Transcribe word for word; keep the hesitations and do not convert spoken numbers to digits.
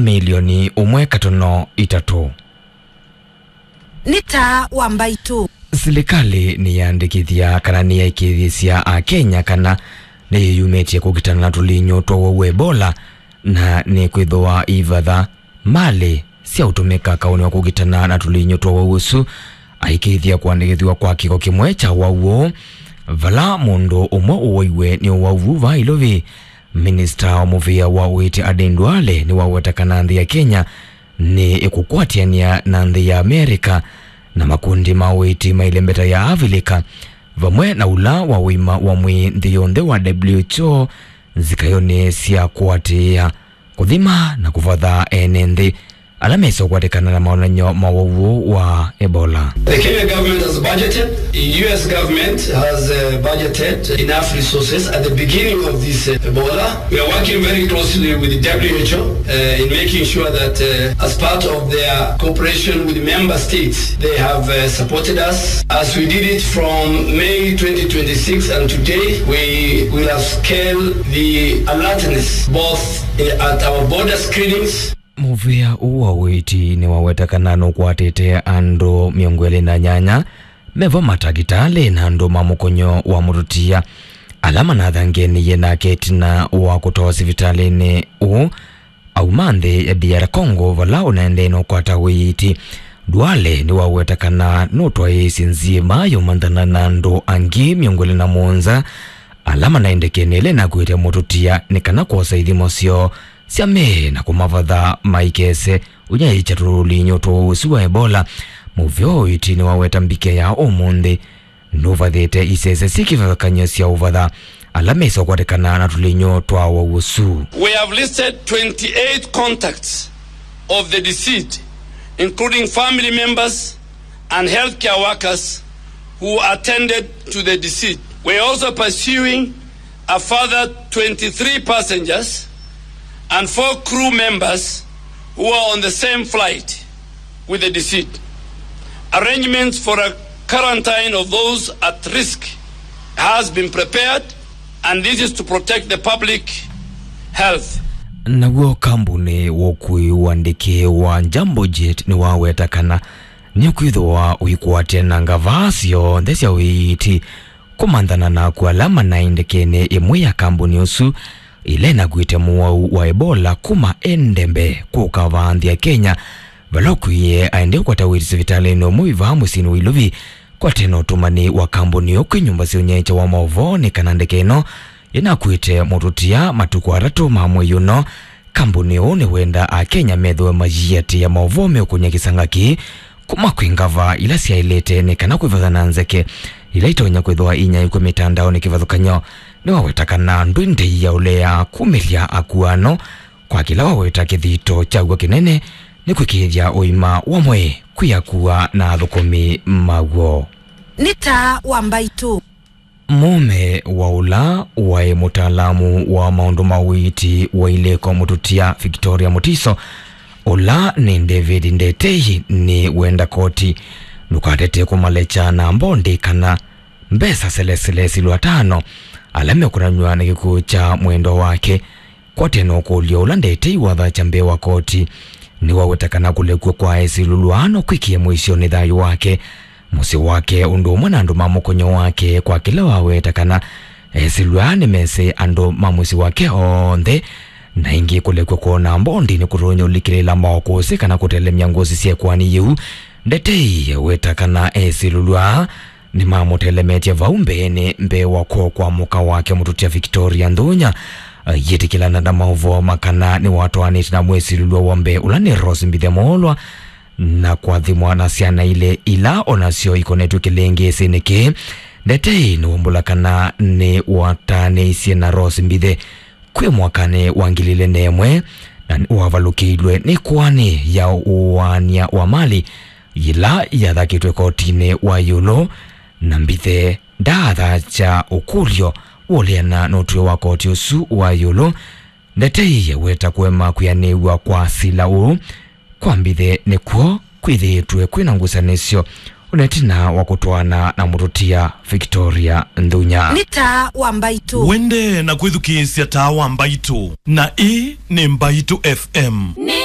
milioni ũmwe katono itatũ. Nĩ taa wa mbaitũ. Silikalĩ nĩyaandĩkĩthya kana nĩyaĩkĩĩthĩsya Akenya kana nĩyĩyumĩtye kũkitana na tũlinyũ twa ũwau wa Ebola, na nĩkwĩthĩwa ivatha malĩ sya ũtũmĩka kaũnĩ wa kũkitana na tũlinyũ twa ũwau ũsu, aĩkĩĩthya kũandĩkĩthw'a kwa kĩko kĩmwe kya ũwau ũũ, vala mũndũ ũmwe ũwaiwe nĩ ũwau vaa Ilovi. Minista wa mũvĩa wa ũiiti Aden Duale nĩwaweta kana nthĩ ya Kenya nĩ ĩkũkwatĩanĩa na nthĩ ya Amerika na makundi ma ũiiti ma ĩlembeta ya Avilika, vamwe na ũla wa ũima wa mwĩĩ nthĩ yonthe wa W H O nzikayonĩ sya kũatĩĩa, kũthima na kũvatha ene nthĩ ala mesĩ ũkwatĩkana na maonany'o ma ũwau wa Ebola. The Kenya government has budgeted, the U S government has, uh, budgeted enough resources at the beginning of this, uh, Ebola. We are working very closely with the W H O, uh, in making sure that, uh, as part of their cooperation with member states, they have, uh, supported us. As we did it from May twenty twenty-six and today, we will have scaled the alertness both, uh, at our border screenings. Mũvĩa ũũ wa ũiiti nĩwaweta kana nũkwatĩte andũ mĩongo ĩlĩ na nyanya, mevo matakitalĩ na andũ ma mũkonyo wa mũtũtia, ala manathangenĩie nake ĩtina wa kũtwawa sivitalĩnĩ ũũ auma nthĩ ya D R Congo, vala ũnaendee na ũkwata ũiiti. Duale nĩwaweta kana nũtwaĩĩsye nzĩma ya ũmanthana na andũ angĩ mĩongo ĩlĩ na mũonza ala manaĩ ndekenĩ ĩla ĩnakuĩte mũtũtia nĩ kana kwosa ithimo syoo sya mĩĩ na kũmavatha maikese ũnyaĩĩkya tũlinyũ tũũ ũsu wa Ebola. Mũvĩa ũũ wa ũiiti nĩwaweta mbike ya ũmũnthĩ nũvathĩte isese syĩ kĩvathũkany'o sya ũvatha ala mesĩ ũkwatĩkana na tũlinyũ twa ũwau ũsu. We have listed twenty-eight contacts of the deceased, including family members and healthcare workers who attended to the deceased. We are also pursuing a further twenty-three passengers and four crew members who are on the same flight with the deceased. Arrangements for a quarantine of those at risk has been prepared, and this is to protect the public health. Naw'o kambuni wa ũkui wa ndeke wa Jambo Jet nĩwaweta kana nĩkwĩthĩwa ũikwatya na ngavaa syonthe sya ũiiti kũmanthana na akw'ũ ala manaĩ ndekenĩ ĩmwe ya kambuni ũsu ĩla ĩnakuĩte mũwau wa Ebola kuma Entebbe kũka vaa nthĩ ya Kenya, vala ũkwie aendee kũkwata ũiiti sivitalĩnĩ ũmwe wĩ vaa mũsyĩnĩ wa Ilovi. Kwatena ũtũmani wa kambuni ũũ kwĩ nyũmba sya ũnyaĩĩkya wa maũvoo nĩ kana ndeke ĩno ĩnakuĩte mũtũtia matukũ atatũ ma mwei ũno, kambuni ũũ nĩwenda Akenya methĩwe mayiatĩĩa maũvoo meũkũny'a kĩsanga kĩĩ kuma kwĩ ngavaa ila syaĩlĩte nĩ kana kwĩvathana nzeke ila itonya kwĩthĩwa inyaĩĩkw'a mĩtandaonĩ. Kĩvathũkany'o nĩwaweta kana ndwĩ ndei ya ũlea kumĩlya akw'ũ ano kwa kĩla waweta kĩthito kyaw'o kĩnene nĩ kwĩkĩĩthya ũima wa mwĩĩ kwĩ akw'ũ na athũkũmi maw'o. Nĩ taa wa mbaitũ. Mũũme wa ũla waĩ mũtaalamu wa maũndũ ma ũiiti wa ilĩko mũtũtia Victoria Mutiso, ũla nĩ David Ndetei, nĩwenda koti ndũkatete kũmalekya na mbondi kana mbesa selesele silũ atano ala mekũnanw'a na kĩkw'ũ kya mwendwa wake. Kwatena ũkũlyo ũla Ndetei wathakya mbee wa koti, nĩwaweta kana kũlekw'a kwa Esilulwa no kwĩkĩe mũisyo nĩ thayũ wake, mũsyĩ wake, ũndũ ũmwe na andũ ma mũkonyo wake, kwa kĩla waweta kana Esilulwa nĩmesĩ andũ ma mũsyĩ wake onthe, na ĩngĩ kũlekw'a kwona mbondi nĩkũtonya ũlikĩlĩla maokũsĩ kana kũtelemya ngũsĩ sya ĩkoani yĩu. Ndetei weta kana Esilulwa nĩmamũtelemetye vau mbeenĩ mbee wa kw'oko kwa mũka wake mũtũtia Victoria Nthunya, yĩtĩkĩlana na maũvoo ma kana nĩwatwaanĩte na mwĩsilĩlw'a wa mbee ũla nĩ Rose Mbithe Moolwa, na kwathimwa na syana ilĩ ila o nasyo ikonetw'e kĩlĩngĩsĩnĩ kĩĩ. Ndetei nĩwumbũla kana nĩwataanĩisye na Rose Mbithe kwĩ mwakanĩ wa ngili ilĩ na ĩmwe, na nĩwavalũkĩilwe nĩ ĩkoani ya ũaany'a wa mali yĩla yathakĩtwe kotinĩ wa ĩũlũ, na Mbithe ndaathakya ũkũlyo wũleana na ũtw'ĩo wa koti ũsu wa ĩũlũ. Ndetei weta kũema kwĩanĩw'a kwa sila ũũ kwa Mbithe nĩkw'o kwĩthĩĩtwe kwĩna ngusanĩsyo ona ĩtina wa kũtwaana na mũtũtia Victoria Nthunya. Nĩ taa wa mbaitũ. Wende na kwĩthukĩĩsya taa wa mbaitũ, na ĩĩ nĩ Mbaitũ F M. Nĩ